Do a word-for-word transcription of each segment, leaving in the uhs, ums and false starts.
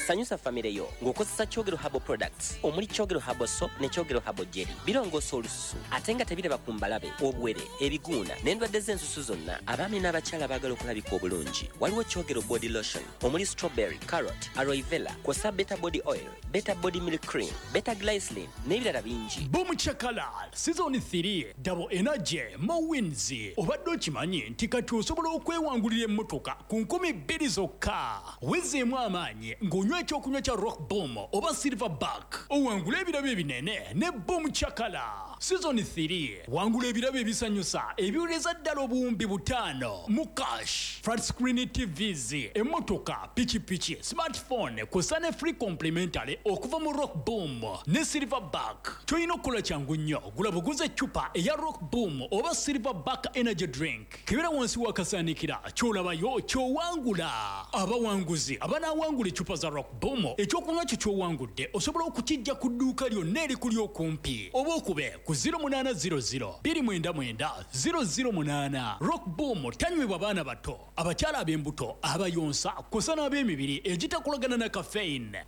Sanyusa famire yo ng'okozesa Kyogero Herbal Products omuli Kyogero Herbal Soap ne Kyogero Herbal Jelly. Birongoosa olususu ate nga tebiraba ku mbalabe, obuwere, ebiguuna n'endwadde z'ensusu zonna. Abaami n'abakyala baagala okulabika obulungi, waliwo Kyogero Body Lotion omuli strawberry, carrot, aloe vera, kw'ossa Better Body Oil, Better Body Milk Cream, Better Glycerin n'ebirala bingi. Boom Chakala Season three, Double Energy, More Wins. Obadde okimanyi nti kati osobola okwewangulira emmotoka ku nkumi bbiri zokka? Wezeemu amaanyi ng'onywa ekyokunywa kya Rock Boom oba Silver Back, owangule ebirabo ebinene ne Boom Chakala Season three. Wangula ebirabo ebisanyusa ebiwereza ddala obuwumbi butaano mu cash, flat screen T Vs, emmotoka, pikipiki, smartphone, kw'ossa ne free complimentary okuva mu Rock Boom ne Silver Back. Kyolina okukola kyangu nnyo, gula buguza eccupa eya Rock Boom oba Silver Back Energy Drink, kebera wansi w'akasaanikira, ky'olabayo ky'owangula. Abawanguzi abanaawangula eccupa za Rock Boom, ekyokunywa kyo ky'owangudde osobola okukijja ku dduuka lyonna erikuli okumpi oba okube ku zero munaana zero zero two nine nine zero zero eight. Rock Boom tanywebwa baana bato, abakyala ab'embuto, abayonsa, kw'ossa n'ab'emibiri egitakolagana na caffeine.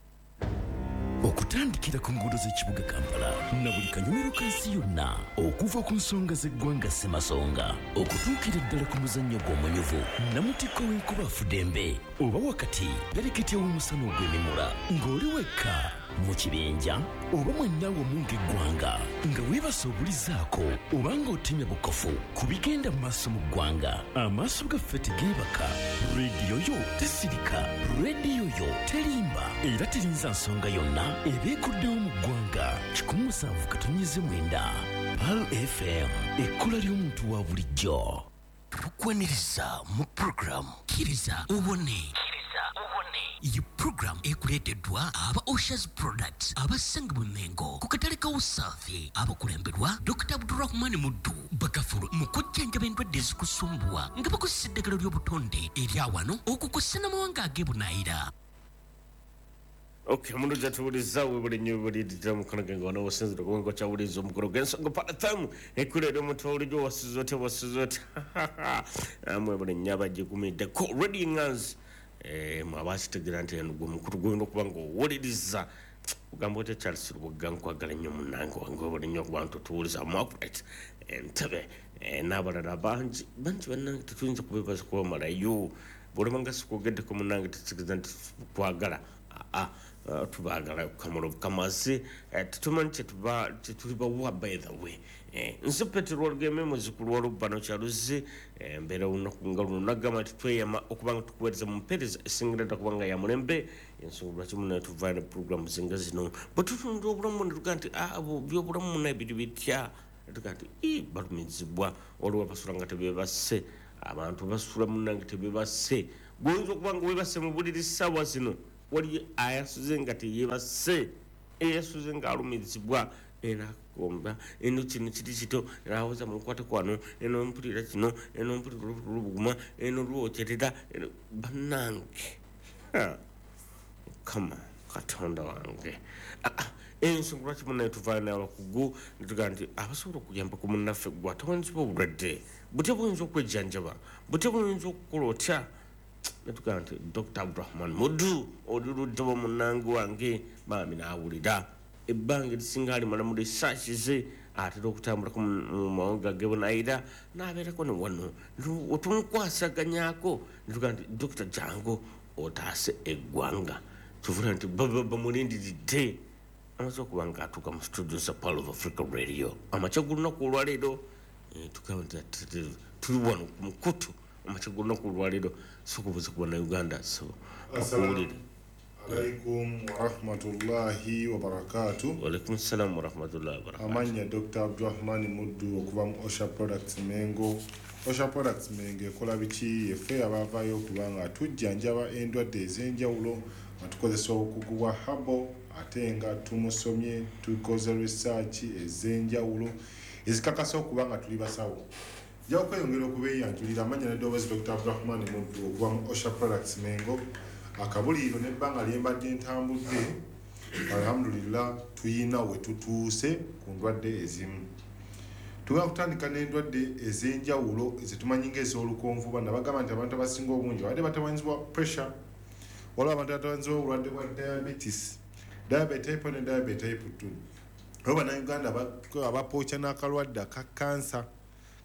Okutandikira ku nguudo z'ekibuga Kampala na buli kanyomero ka nsi yonna, okuva ku nsonga z'eggwanga ssemasonga okutuukira ddala ku muzannyo gw'omunyuvu namutikko w'enkuba afudembe oba wakati pereketya w'omusana ogw'emimula, ng'oli wekka, mu kibinja oba mwenna wamu ng'eggwanga, nga weebasa obulizaako oba ng'otemya bukofu ku bigenda mu maaso mu ggwanga, amaaso gaffe tegeebaka, rediyo yo tesirika, rediyo yo terimba era terinza nsonga yonna eba ekuddewo mu ggwanga. Kikumi musanvu katonnyeze mwenda Pearl F M, ekkula ly'omuntu wa bulijjo. Tukwaniriza mu puroguramu Kkiriza Owone. Iyi puroguramu ekuleeteddwa aba Oshas Products abasangibwa Mengo ku katale ka Usaafi, abakulemberwa Doctor Abdurahman Muddu, bakafulu mu kujjanjaba endwadde ezikusumbuwa nga bakozesa eddagala ly'obutonde erya wano okukosa n'amawanga ag'ebunaayira. Okay, omuntu gyatuwuliza webuli nnyo webulirira mukono genge wano osinzira okuba nga okyawuliriza omukolo gw'ensonga Pearl F M, ekkula eri omuntu owulijjo. Wasiza otya? Wasiza otya? Mwebuli nnyo abagigumiddeko Radio Ngans, mwabakitegeera nti eno gwe mukulu gwolina okuba nga owuliriza. Ogamba otya, Charles Lubugga? Nkwagala nnyo munange wange, webuli nnyo okuba nti otuwuliza. Margaret Entebe n'abalala bangi bangi, bannange tetuyinza kubebaza kubamalayo. Bwolaba nga sikwogeddeko munange, tekitegeeza nti kwagala aa tubaagala kamulo kamazi, tetumanyi kyetulibawa. By the way, nze Petero Olugeme, muzukulu wa Lubbano Kyaluzi. Embeera olunaku nga luno nagamba nti tweyama okuba nga tukuweereza mu mpeereza esingira ddala kubanga ya mulembe. Ensonga lwaki munaye tuvaayo ne puroguramu zinga zino, bwe tutunda obulamu netugaa nti byobulamu munaye biri bitya, netugaa nti balumizibwa. Waliwo abasula nga tebebase, abantu basula munange tebebase. Gwoyinza okuba nga webase mu buliri ssaawa zino, wali ayasuze nga teyebase, eyasuze nga alumizibwa era agomba eno kino kiri kito, awoza munkwate kwano, eno mpulira kino, eno mpulira lubuguma, eno lwokyerera. Bannange, Mukama Katonda wange, ensonga lwaki munaye tuvaayo n'abakugu netugaa nti abasobola okuyamba ku munnaffe gwe atawanyizibwa obulwadde butya, buyinza okwejjanjaba butya, buyinza okukola otya, netugaa nti Doctor Abdurahman Mudu oli luddewa munange wange bambi naawulira ebbanga erisinga alimala mu research ze, atera okutambulako mu mawanga gebunayira n'abeerako ne wano otumukwasaganyako netugaa nti Doctor jangu otaase eggwanga. Kivula nti bamulindiridde, amaze okuba nga atuuka mu studio za Pearl of Africa Radio amakya g'olunaku olwaleero. Tugamba nti tuli wano ku mukutu amakya g'olunaku olwaleero, sokubuuza ku Bannayuganda, so akuwulire. Alaikum warahmatullahi wabarakatu. Walaikum salamu warahmatullahi wabarakatu. Amanya Doctor Abdurahmani Muddu okuva mu Osha Products Mengo. Osha Products Mengo ekola biki? Yeffe abavaayo okuba nga tujjanjaba endwadde ez'enjawulo nga tukozesa obukugu bwa herbal, ate nga tumusomye, tukoze research ez'enjawulo ezikakasa okuba nga tuli basawo. Nja okweyongera okubeeyanjulira amanya n'eddoboozi, Doctor Abdurahmani Muddu okuva mu Osha Products Mengo. Akabuliiro n'ebbanga lye mbadde ntambudde, alhamdulillah, tuyina we tutuuse ku ndwadde ezimu. Tugenda kutandika n'endwadde ez'enjawulo zetumanyi ng'ez'olukonvuba. Nabagamba nti abantu abasinga obungi babadde batawanyizibwa pressure. Waliwo abantu abatanzibwa obulwadde bwa diabetes, diabetes type one ne diabetes type two. Waliwo bannayuganda abapooca n'akalwadde aka kansa,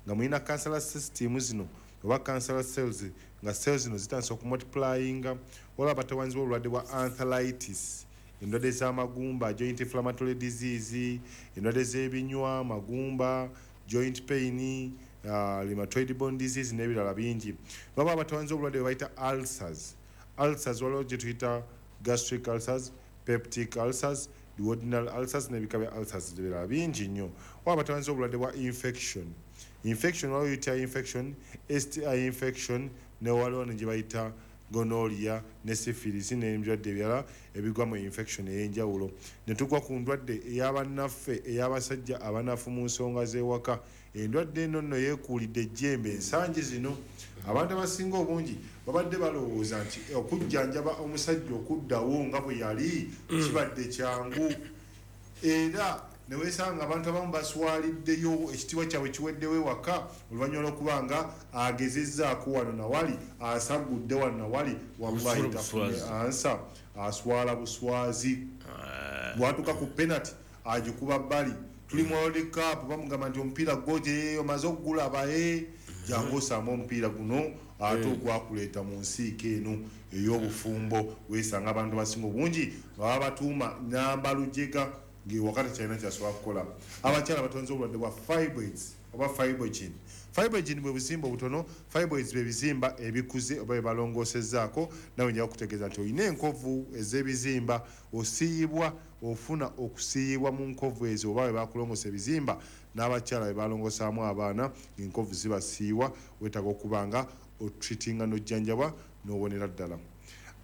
nga mulina cancer system zino oba cancer cells, nga cells zino zitandise okumultiplyinga. Waliwo abatawanzibwa obulwadde bwa arthritis, endwadde z'amagumba, joint inflammatory disease, endwadde z'ebinywa, magumba, joint pain, uh, rheumatoid bone disease n'ebirala bingi. Baba abatawanzibwa obulwadde bwe bayita ulcers. Ulcers waliwo gye tuyita gastric ulcers, peptic ulcers, duodenal ulcers n'ebika bya ulcers ebirala bingi nnyo. Waba abatawanzibwa obulwadde bwa infection. Infection waliwo U T I infection, S T I infection, ne waliwo ne gye bayita gonorrhea ne syphilis n'ebirwadde ebirala ebigwa mu infection ey'enjawulo. Ne tugwa ku ndwadde ey'abannaffe ey'abasajja abanafu mu nsonga z'ewaka. Endwadde eno nno yeekuulidde ejjembe ensangi zino. Abantu abasinga obungi babadde balowooza nti okujjanjaba omusajja okuddawo nga bwe yali kibadde kyangu, era ne weesanga abantu abamu baswaliddeyo, ekitiibwa kyabwe kiweddewo ewaka oluvannyuma lw'okuba nga agezezzaako wano nawali, asagudde wano nawali, wallahi tafunye ansa, aswala buswazi. Bw'atuuka ku penalty agikuba bbali. Tuli mu World Cup bamugamba nti omupiira gwoje omaze okugulaba, jangu osame omupiira guno ate ogwakuleeta mu nsiike eno ey'obufumbo. Weesanga abantu abasinga obungi nga babatuuma namba lujega, ng'ewaka tekyalina kyasobola kukola. Abakyala batonze obulwadde bwa fibroids oba fibrogen. Fibrogen bwe buzimba obutono, fibroids bwe bizimba ebikuze oba bye balongoosezzaako. Nawe nja kukutegeeza nti olina enkovu ez'ebizimba, osiiyibwa, ofuna okusiiyibwa mu nkovu ezo oba bwe bakulongoosa ebizimba. N'abakyala bwe balongoosaamu abaana, enkovu zibasiiwa, weetaaga okuba nga otreatinga n'ojjanjabwa n'owonera ddala.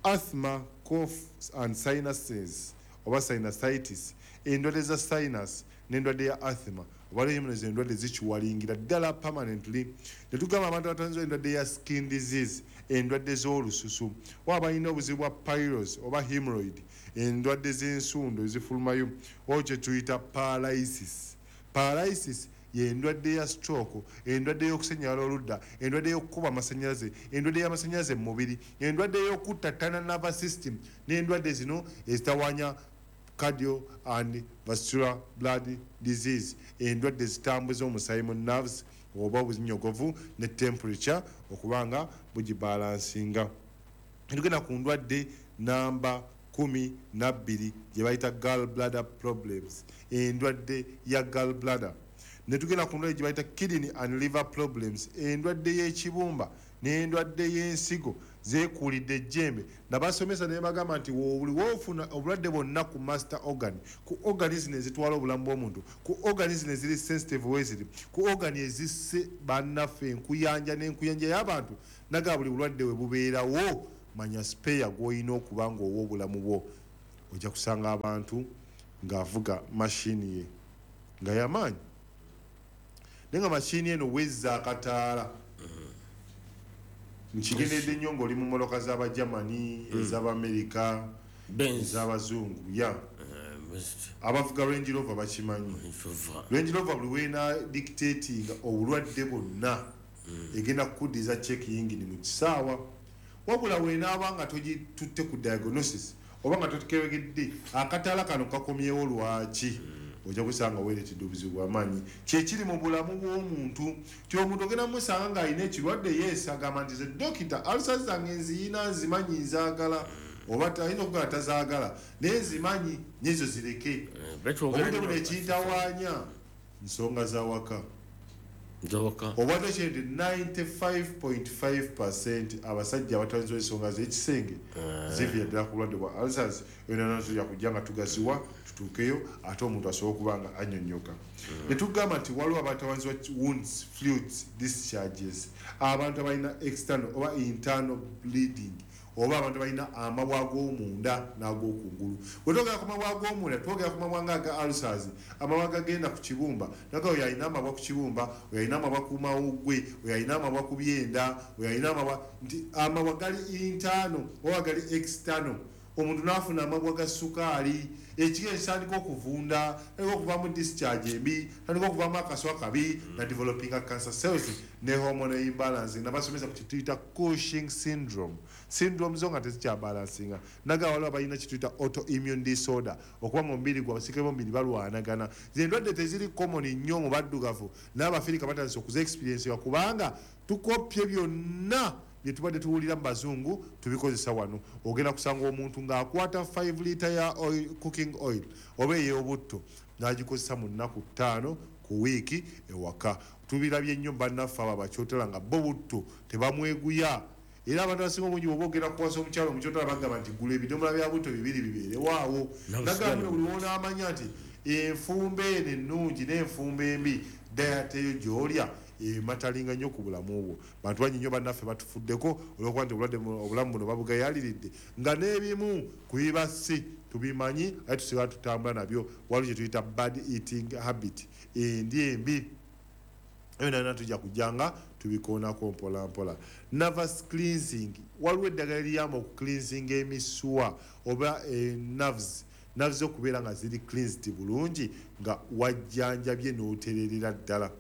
Asthma, cough and sinuses oba sinusitis, endwadde za sinus n'endwadde ya asthma oba lemuno endwadde zikiwalingira ddala permanently. Ne tugamba abantu abatanzibwa endwadde ya skin disease, endwadde z'olususu, oba balina obuzibu bwa piles oba hemorrhoid, endwadde z'ensundo ezifulumayo, oba kye tuyita paralysis. Paralysis y'endwadde ya stroke, endwadde y'okusennyala oludda, endwadde y'okukuba amasannyalaze, endwadde y'amasannyalaze mu mubiri, endwadde y'okuttattana nervous system, n'endwadde zino ezitawaanya cardio and vascular blood disease, endwadde zitambuza omusaayi mu nerves oba obuzinyogovu ne temperature okubanga bugibalansinga. Tugenda ku ndwadde namba kumi na bbiri gye bayita gallbladder problems, endwadde ya gallbladder. Ne tugenda ku ndwadde gye bayita kidney and liver problems, endwadde y'ekibumba n'endwadde y'ensigo zeekuulidde ejjembe. Nabasomesa ne bagamba nti buli w'ofuna obulwadde bwonna ku master organ, ku organ zino ezitwala obulamu bw'omuntu, ku organ zino eziri sensitive weziri, ku organ ezisse bannaffe enkuyanja n'enkuyanja y'abantu, naga buli bulwadde we bubeerawo, manya spare gw'olina okuba ng'owa obulamu bwo. Ojja kusanga abantu ng'avuga mashini ye nga y'amaanyi, naye nga mashini eno wezza akataala. Nkigendedde nnyo ng'oli mu mmotoka z'Abagermany, ez'Abamerika, ez'Abazungu, ya abavuga Range Rover bakimanyi. Range Rover buli weena dictatinga obulwadde bwonna egenda kukuddiza check yingini mu kisaawa. Wabula wenaaba nga togitutte ku diagnosis oba nga totukebegedde akataala kano kakomyewo lwaki, ojja kusanga weereetedde obuzibu bw'amaanyi. Kyekiri mu bulamu bw'omuntu ti omuntu ogenda musanga ng'alina ekirwadde, yeesi agamba nti ze dokita ulcers zange nziyina, nzimanyi, nzaagala, oba ayinza okugamba tazaagala naye nzimanyi n'ezo zireke. Obudde buno ekintawaanya nsonga za waka. Obwadde kye nti ninety-five point five percent abasajja abatanzibwa ensonga z'ekisenge ziviira ddala ku bulwadde bwa ulcers. Yonna tujja kujja nga tugaziwa tutuukeyo ate omuntu asobola okuba nga annyonnyoka. Ne tugamba nti waliwo abatawanzibwa wounds, fluids, discharges, abantu abalina external oba internal bleeding, oba abantu balina amabwa ag'omunda n'ag'okungulu. Bwe twogera ku mabwa ag'omunda, twogera ku mabwa nga aga ulcers, amabwa agagenda ku kibumba. Naga oyo alina amabwa ku kibumba, oyo alina amabwa ku mawuggwe, oyo alina amabwa ku byenda, oyo alina amabwa, nti amabwa gali internal oba gali external. Omuntu n'afuna amabwa ga sukaali, ekigere kitandika okuvunda, tandika okuvaamu discharge embi, tandika okuvaamu akaswa kabi, na developing cancer cells ne hormone imbalance. Nabasomesa ku kituyita Cushing syndrome. Syndrome zo nga tezikyabalansinga. Naga waliwo abalina kituyita autoimmune disorder, okuba nga omubiri gwabwe abasirikale b'omubiri balwanagana. Zino endwadde teziri common nnyo mu baddugavu, n'Abafirika batandise okuza experience kubanga tukopye byonna bye tubadde tuwulira mu bazungu tubikozesa wano. Ogenda kusanga omuntu ng'akwata five litre ya oil, cooking oil oba ey'obutto n'agikozesa mu nnaku ttaano ku wiiki ewaka. Tubirabye nnyo bannaffe abo abakyotala nga bo butto tebamweguya. Era abantu abasinga obungi bw'oba ogenda kuwasa omukyala omukyotala bagamba nti gula ebidomola bya butto bibiri bibeerewaawo. Nagamba buli lw'onaamanya nti enfumba eno ennungi n'enfumba embi diet eyo gy'olya ematalinga nnyo ku bulamu bwo. Bantu bangi nnyo bannaffe batufuddeko olw'okuba nti obulwadde obulamu buno babugayaliridde nga n'ebimu ku bibassi tubimanyi ate tusigala tutambula nabyo. Waliwo kye tuyita bad eating habit, endya embi. Ebyo nabyo tujja kujja nga tubikoonako mpola mpola. Nervous cleansing, waliwo eddagala eriyamba okucleansinga emisuwa oba nerves, nerves okubeera nga ziri cleansed bulungi nga wajjanjabye n'otererera ddala.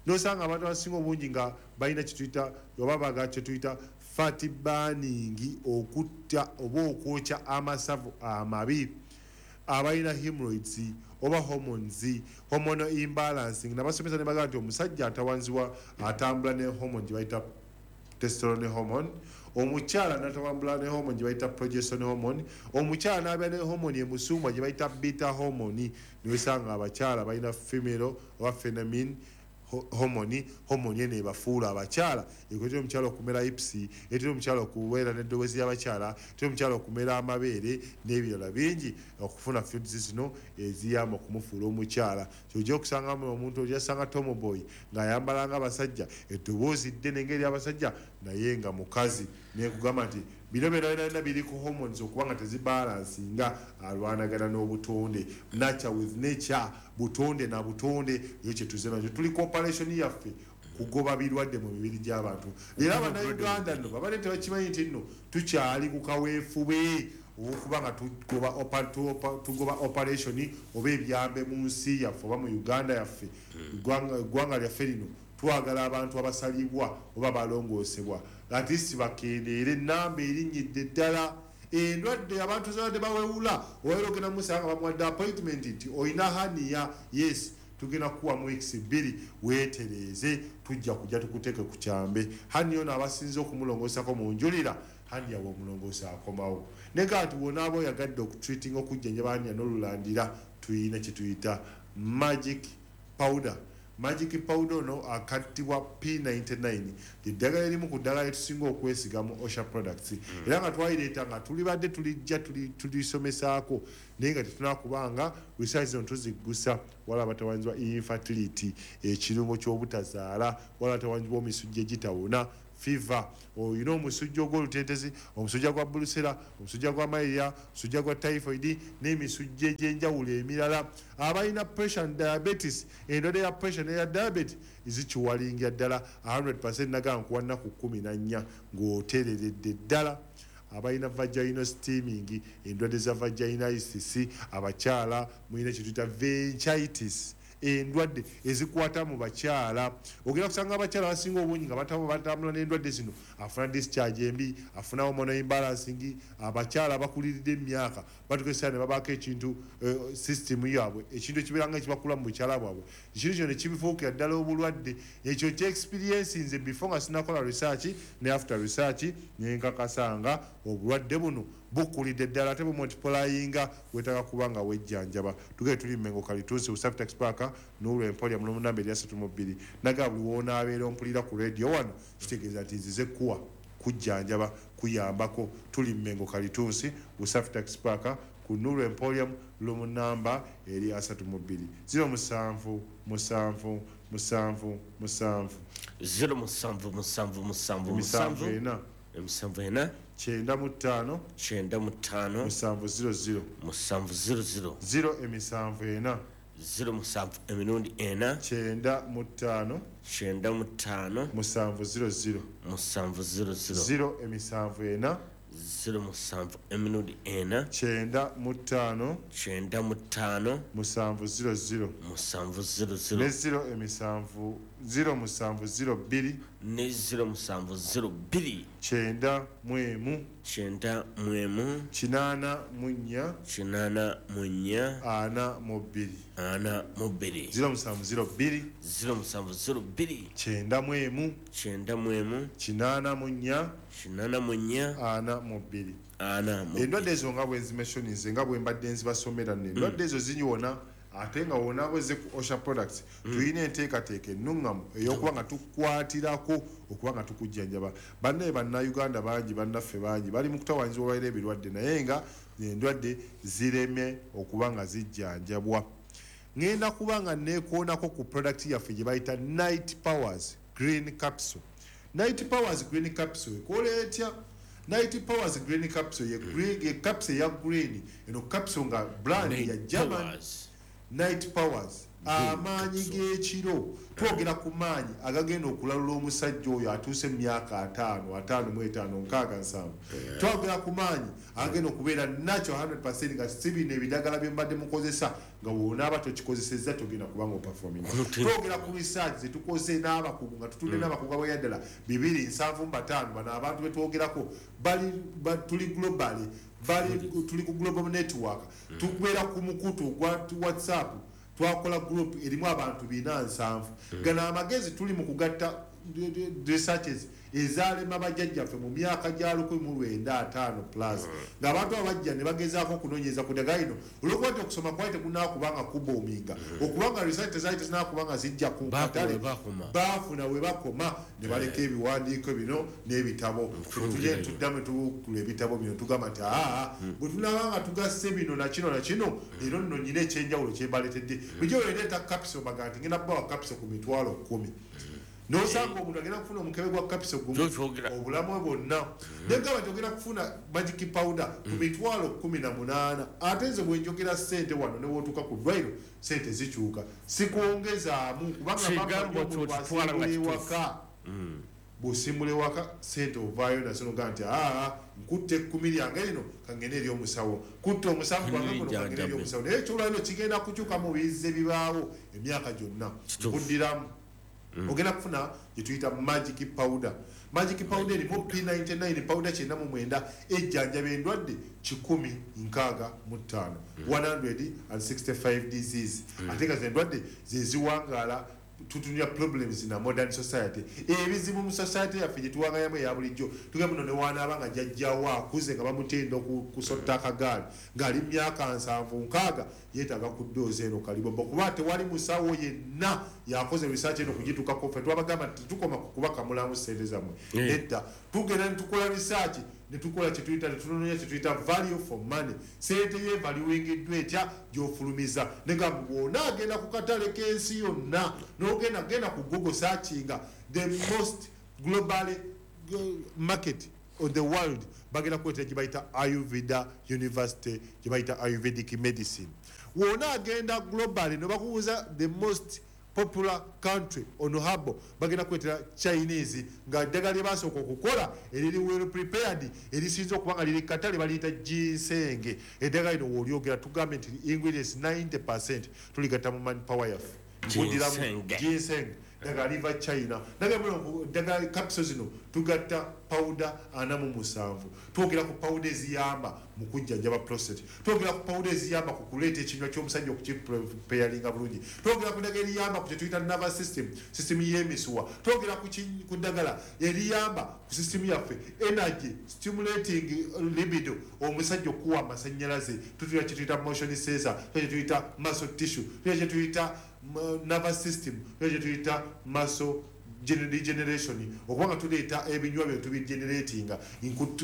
Nosanga abantu abasinga obungi nga balina kyetuyita oba baagala kyetuyita fat burning, okutta oba okwokya amasavu amabi. Abalina hemorrhoids oba hormones, hormonal imbalancing. Nabasomesa ne bagamba nti omusajja atawanzibwa atambula ne hormone gye bayita testosterone hormone, omukyala n'atambula ne hormone gye bayita progesterone hormone, omukyala n'abeera ne hormone emusumbwa gye bayita beta hormone. Niwesanga abakyala balina female oba feminine hormone, hormone eno ebafuula abakyala, ekuleetera omukyala okumera hips, ereetera omukyala okubeera n'eddoboozi ly'abakyala, ereetera omukyala okumera amabeere n'ebirala bingi, okufuna fluids zino eziyamba okumufuula omukyala. Ky'ojja okusangamu omuntu ojja tomboy ng'ayambala ng'abasajja, eddoboozi ddene ng'ery'abasajja naye nga mukazi. Nekugamba nti bino byonna byonna biri ku hormones okuba nga tezibalansinga, alwanagana n'obutonde. Nature with nature, butonde na butonde, yo kye tuze nakyo. Tuli ku operation yaffe kugoba birwadde mu mibiri gy'abantu. Era Abannayuganda nno babadde tebakimanyi nti nno tukyali ku kaweefube ow'okuba nga tugoba tugoba operation oba ebyambe mu nsi yaffe oba mu Uganda yaffe. Eggwanga lyaffe lino twagala abantu abasalibwa oba balongoosebwa, ate si bakendeere ennamba erinnyidde ddala. Endwadde abantu zabadde bawewula, owaera ogenda musanga bamuwadde appointment nti olina hernia, yes tugenda kukuwa mu weeks bbiri weetereeze, tujja kujja tukuteeke ku kyambe. Hernia ono abasinze okumulongoosako mu njulira, hernia bw'omulongoosa akomawo. Naye ati bw'onaaba oyagadde okutreatinga okujjanjaba hernia n'olulandira, tuyina kye tuyita magic powder. Magic powder ono akattibwa P ninety-nine, eddagala erimu ku ddagala lyetusinga okwesiga mu Osha products. Era nga twalireeta nga tulibadde tulijja tulisomesaako, naye nga tetunakubanga research zino tuziggusa. Waliwo abatawaanyizibwa infertility, ekirungo ky'obutazaala, waliwo abatawaanyizibwa omisujja egitawona, fever, olina omusujja ogw'olutentezi, omusujja gwa bulusera, omusujja gwa malaria, omusujja gwa typhoid n'emisujja egy'enjawulo emirala. Abalina pressure and diabetes, endwadde ya pressure n'eya diabetes zikiwalingira ddala one hundred percent. Nagamba nkuwa nnaku kkumi na nnya ng'otereredde ddala. Abalina vaginal steaming, endwadde za vaginitis, abakyala mulina kye tuyita vaginitis, endwadde ezikwata mu bakyala. Ogenda kusanga abakyala abasinga obungi nga batambula n'endwadde zino, afuna discharge embi, afuna hormonal imbalancing. Abakyala abakuliridde emyaka batuuka ne babaako ekintu system yaabwe, ekintu ekibeera nga ekibakula mu bukyala bwabwe, ekintu kino ne kibifuukira ddala obulwadde. Ekyo kye experience nze before nga sinnakola research ne after research, ne nkakasa nga obulwadde buno bukulidde ddala ate bumultiplyinga, weetaaga kuba nga wejjanjaba. Tugende tuli Mmengo Kalituusi, Usafi Taxi Park, Nuru Emporium n'omunamba eri asatu mu bbiri. Nagamba buli w'onaabeera ompulira ku radio wano, kitegeeza nti nzize kuwa kujjanjaba kuyambako. Tuli Mmengo Kalituusi, Usafi Taxi Park, ku Nuru Emporium, room namba eri asatu mu bbiri. Zero musanvu musanvu musanvu musanvu zero musanvu musanvu musanvu emisanvu musanvu ena emisanvu ena kyenda mu ttaano kyenda mu ttaano musanvu zero zero musanvu zero zero zero emisanvu ena zero musanvu emirundi ena kyenda mu ttaano kyenda mu ttaano musanvu zero zero musanvu zero zero zero emisanvu ena Zero musanvu emirundi ena kyenda mu ttaano kyenda mu ttaano musanvu zero zero musanvu zero zero ne zero emisanvu zero musanvu zero bbiri ne zero musanvu zero bbiri kyenda mu emu kyenda mu emu kinaana mu nnya kinaana mu nnya ana mu bbiri ana mu bbiri zero musanvu zero bbiri zero musanvu zero bbiri kyenda mu emu kyenda mu emu kinaana mu nnya kinaana mu nnya ana mu bbiri ana mu endwadde ezo nga bwe nzimentionize nga bwe mbadde nzibasomera nno endwadde ezo zinyiwona ate nga wonaaboze ku Osha Products tulina enteekateeka ennuŋŋamu ey'okuba nga tukwatirako okuba nga tukujjanjaba. Bannaye Bannayuganda bangi, bannaffe bangi bali mu kutawaanyizibwa olwaleero ebirwadde, naye nga endwadde ziremye okuba nga zijjanjabwa. Ŋŋenda kuba nga neekoonako ku product yaffe gye bayita Night Powers Green Capsule. Night Powers Green Capsule ekola etya? Night Powers Green Capsule ye green, ye capsule ya green, eno capsule nga brand ya German. Night Powers amaanyi g'ekiro, twogera ku maanyi agagenda okulalula omusajja oyo atuuse mu myaka ataano ataano mu etaano nkaaga nsanvu. Twogera ku maanyi agagenda okubeera natural hundred percent nga si bino ebidagala bye mbadde mukozesa nga bw'onaaba tokikozesezza togenda kubanga operforminga. Twogera ku research ze tukoze n'abakugu nga tutudde n'abakugu abaya ddala bibiri nsanvu mu bataano. Bano abantu be twogerako bali tuli globally, bali tuli ku global network, tukubeera ku mukutu gwa WhatsApp, twakola group erimu abantu bina nsanvu. Gano amagezi tuli mu kugatta researches ezaalema bajjajjaffe mu myaka gya lukumi mu lwenda ataano plus, ng'abantu abajja ne bagezaako okunoonyereza ku ddagala lino olw'okuba nti okusoma kwali tekunnaakuba nga kuboominga, okubanga research tezaali tezinnaakuba nga zijja ku katale, baafuna we bakoma ne baleka ebiwandiiko bino n'ebitabo. Tujje tuddamu ne tubukula ebitabo bino tugamba nti aa bwe tunaaba nga tugasse bino na kino na kino, leero nno nnyina ekyenjawulo kye mbaleetedde. Bulijjo bwe ndeeta capsule baga nti ngenda kubawa capsule ku mitwalo kkumi, nosanga omuntu agenda kufuna omukebe gwa capsule gumu obulamu bwe bwonna, negamba nti ogenda kufuna magic powder ku mitwalo kkumi na munaana. Ate nze bwe njogera ssente wano ne w'otuuka ku ddwaliro ssente zikyuka, sikwongezaamu kubanga ewaka bw'osimbula ewaka ssente ovaayo nazo nogaa nti aa nkutte ekkumi lyange lino kangende eri omusawo, kutte omusanvu gwange guno kangende eri omusawo. Naye ekyolwaliro kigenda kukyuka mu bizze bibaawo emyaka gyonna. Nkuddiramu ogenda kufuna gye tuyita magic powder. Magic powder erimu P ninety-nine powder kyenda mu mwenda ejjanjaba endwadde kikumi nkaaga mu ttaano one hundred and sixty-five disease. Ate nga endwadde ze ziwangaala tutunya problems in a modern society. Ebizibu mu society yaffe gye tuwangayamu eya bulijjo, tugamba nno ne wanaaba nga jjajjawo akuze nga bamutenda okusotta akagaali ng'ali myaka nsanvu nkaaga yeetaaga ku ddoozi eno kalibombo, kuba tewali musawo yenna yakoze research eno kugituukako. Ffe twabagamba nti tetukoma ku kubakamulamu ssente zammwe, nedda, tugenda ne tukola research ne tukola kye tuyita ne tunoonya kye tuyita value for money. Ssente ye valuingiddwa etya gy'ofulumiza? Negamba bw'ona agenda ku katale k'ensi yonna n'ogenda genda ku Google searchinga the most globally market on the world, bagenda kuleetera gye bayita Ayurveda University, gye bayita Ayurvedic medicine. Wona agenda globally ne bakubuuza the most popular country on habo, bagenda kuleetera Chinese nga ddagala lye basooka okukola eriri well prepared erisinze okuba nga liri katale baliyita ginseng. Eddagala lino w'olyogera tugambe nti ingredients ninety percent tuligatta mu manpower yaffe. Nkuddiramu ginseng ddagala liva China. Ddagala capsule zino tugatta powder ana mu musanvu. Twogera ku powder eziyamba mu kujjanjaba prostate, twogera ku powder eziyamba ku kuleeta ekinywa ky'omusajja okukipreparinga bulungi, twogera ku ddagala eriyamba ku kye tuyita nervous system, system y'emisuwa, twogera ku ddagala eriyamba ku system yaffe energy stimulating libido, omusajja okuwa amasannyalaze, tutuyita kye tuyita motion sensor, kye tuyita muscle tissue, kye tuyita nervous system, kye tuyita muscle regeneration, okubanga tuleeta ebinywa bye tubigeneratinga.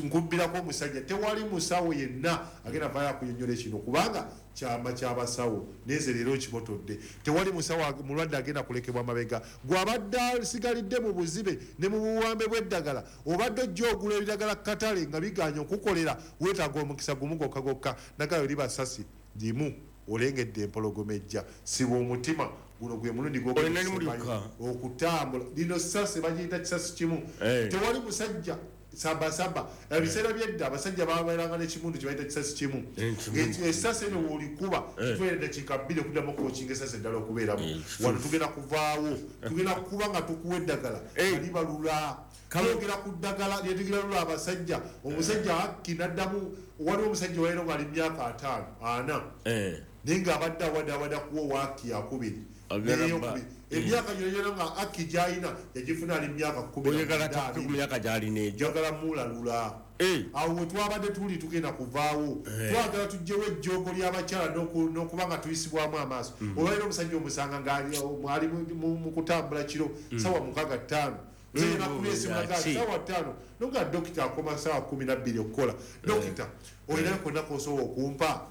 Nkubbirako omusajja, tewali musawo yenna agenda vaayo akunyonnyola kino kubanga kyama ky'abasawo, neze leero kibotodde. Tewali musawo mulwadde agenda kulekebwa mabega. Gw'abadde asigalidde mu buzibe ne mu buwambe bw'eddagala, obadde ojja ogula ebiragala katale nga bigaanye okukolera, weetaaga omukisa gumu gwokka gwokka. Nagayo liba ssasi limu olengedde empologoma ejja, siba omutima guno gwe mulundi gw'okutambula. Lino ssasi bagiyita kisasi kimu. Tewali musajja Saba saba ebiseera byedda abasajja babeeranga n'ekimundu kye bayita kisasi kimu. Esasi eno w'olikuba kitwala eddakiika bbiri okuddamu okwokinga esasi eddala okubeeramu. Wano tugenda kuvaawo, tugenda kuba nga tukuwa eddagala libalula. Twogera ku ddagala lyetugira lula abasajja. Omusajja hakki n'addamu, waliwo omusajja waero ng'ali myaka ataano ana naye ng'abadde awadawada kuwa waaki yakubiri emyaka gyona gyona nga akki gy'alina yagifuna ali myaka kkumi njagala mulalula. Awo we twabadde tuli tugenda kuvaawo, twagala tuggyewo ejjoogo ly'abakyala n'okuba nga tuyisibwamu amaaso. Olwaliro omusajja omusanga ng'ali mu kutambula kiro sawa mukaaga ttaano sawa ttaano nonga dokita akoma sawa kumi na bbiri okukola. Dokita olinayo konna k'osobola okumpa.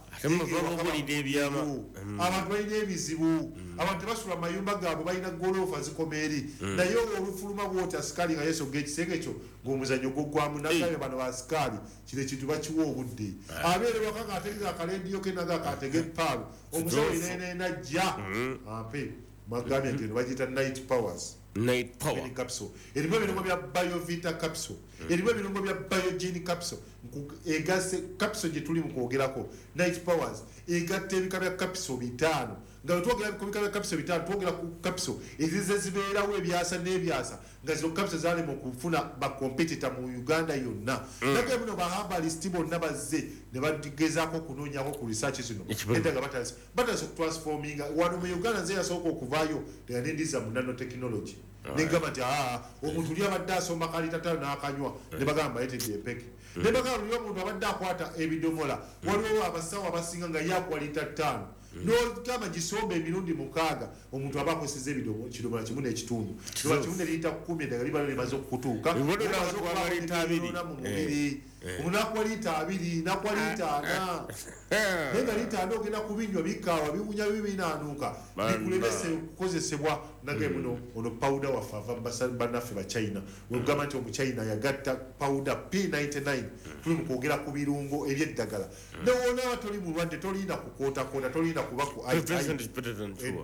Abantu balina ebizibu, abantu tebasula mayumba gaabwe, balina goloofa zikoma eri, naye olufuluma bwoti asikaali nga yeesogga ekisenge kyo ng'omuzannyo gwoggwamu. Nagambye bano baasikaali kino ekintu bakiwa obudde. Abeere waka ng'ategeka akalediyo ke naga akatega epaalo omusawo yenayena ajja ampe. Magambye nti eno bagiyita night powers. Night power capsule erimu ebirungo bya biovita capsule, erimu ebirungo bya biogene capsule. Egase capsule gye tuli mu kwogerako night powers egatta ebika bya capsule bitaano. Nga twogera ku bika bya capsule bitaano, twogera ku capsule ezize zibeerawo ebyasa n'ebyasa nga zino capsule zaalema okufuna ba competitor mu Uganda yonna. Naye muno ba herbalist bonna bazze ne bagezaako okunoonyako ku research zino era nga batandise batandise okutransforminga wano mu Uganda. Nze yasooka okuvaayo nga nendiza mu nanotechnology negamba nti aa omuntu oli abadde asoma kalita ttaano n'akanywa ne bagamba yeetedde empeke, ne bagamba luli omuntu abadde akwata ebidomola. Waliwo abasawo abasinga nga ye akuwa lita ttaano n'ogamba gisomba emirundi mukaaga, omuntu aba akozesezza ekidomola kimu n'ekitundu kidomola kimu ne liyita kkumi eddagala liba limaze okukutuuka mu mubiri. Omuntu n'akuwa liita abiri n'akuwa liita ana, naye nga liita ana ogenda kubinywa bikaawa biwunya bibinaanuuka bikulemese okukozesebwa. Nage muno ono powder waffe ava bannaffe Bachina, wegamba nti Omuchina yagatta powder P ninety-nine. Tuli mu kwogera ku birungo eby'eddagala. Newonaaba toli mulwadde tolina kukootakoota, tolina kuba ku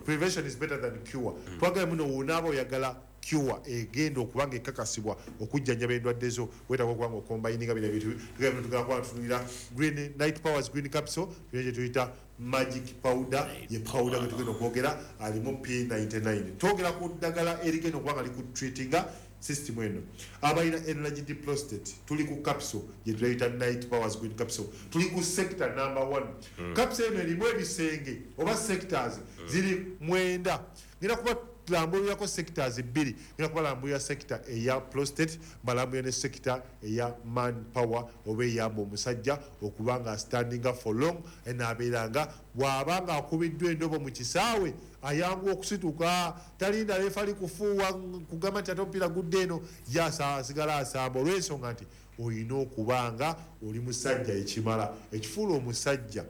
prevention is better than cure. Twagala muno wonaaba oyagala cure egenda okuba nga ekakasibwa okujjanjaba endwadde zo, weetaaga okuba nga okombayininga bino ebintu. Tugenda kuba tutunulira green night powers green capsule, tulina kye tuyita magic powder, ye powder gwe tugenda okwogera alimu P ninety-nine. Twogera ku ddagala erigenda okuba nga likutreatinga system eno. Abalina enlarged prostate tuli ku capsule gye tuyita night powers green capsule. Tuli ku sector number one. Capsule eno erimu ebisenge oba sectors ziri mwenda. Ngenda kuba tulambulirako sectors bbiri, ngenda kubalambulira sector eya prostate, mbalambulira ne sector eya man power oba eyamba omusajja okuba nga standinga for long enaabeera nga bw'aba nga akubiddwa endobo mu kisaawe ayanguwa okusituka, talinda refa kufuuwa kugamba nti ate omupiira gudde eno, ye asigala asamba olw'ensonga nti olina okuba nga oli musajja ekimala. Ekifuula omusajja,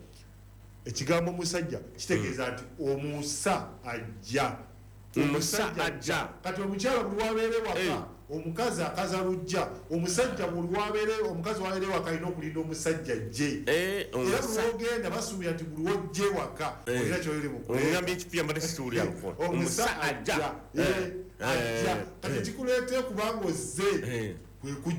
ekigambo omusajja kitegeeza nti omusa ajja, omusa ajja. Kati omukyala buli wabeere waka omukazi akaza lujja, omusajja buli wabeere omukazi wabeere waka alina okulinda omusajja ajje. Era buli wogenda basuubira nti buli wojje waka olina ky'oli mu omusa ajja ajja. Kati kikuleetera kubanga ozze kwe kujja.